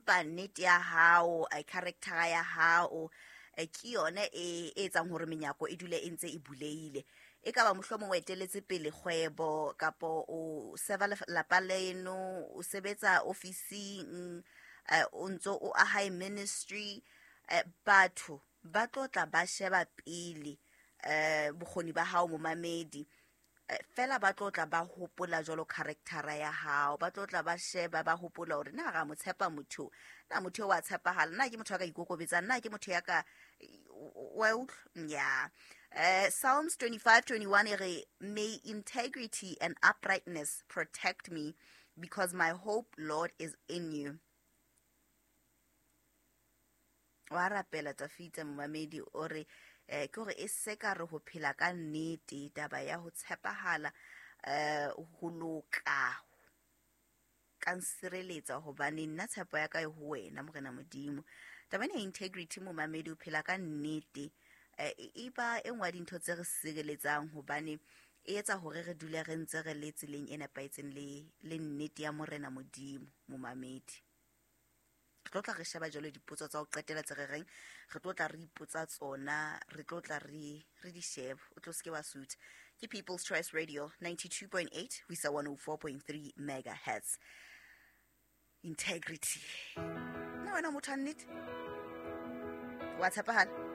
Empa nnete ya hao, character ya hao, ke yona e etsang hore menyako e dule e ntse e buleile. E ka ba mohlomong o eteletse pele kgwebo, kapo o serva lapa leno, o sebetsa ofising, o ntso o aha ministry, batho ba tlo tla ba sheba pele bokgoni ba hao momamedi. Fela ba tlo tla ba hopola jwalo character ya hao, ba tlo tla ba sheba ba hopola hore na ra mo tshepa motho, na motho wa tshepahala, na ke motho ya ka ikokobetsang, na ke motho ya ka wa utlwa ya. Psalms 25:21 e re, may integrity and uprightness protect me, because my hope, Lord, is in you. Wa rapela Tafita momamedi o re, ke hore e se ka re ho phela ka nnete, taba ya ho tshepahala, ho loka, ka nsireletsa hobane nna tshepo ya ka e ho wena Morena Modimo. Taba ena ya integrity momamedi, o phela ka nnete, e ba e nngwe ya dintho tse re sireletsang hobane e etsa hore re dule re ntse re le tseleng e nepahetseng le nnete ya Morena Modimo momamedi. Re tlo tla re sheba jwalo dipotso tsa ho qetela tse re reng re tlo tla re ipotsa tsona, re tlo tla re di sheba. O tlo seke wa sutha. Ke People's Choice Radio 92.8 ho isa 104.3 megahertz. Integrity. Na wena motho wa nnete? Wa tshepahala?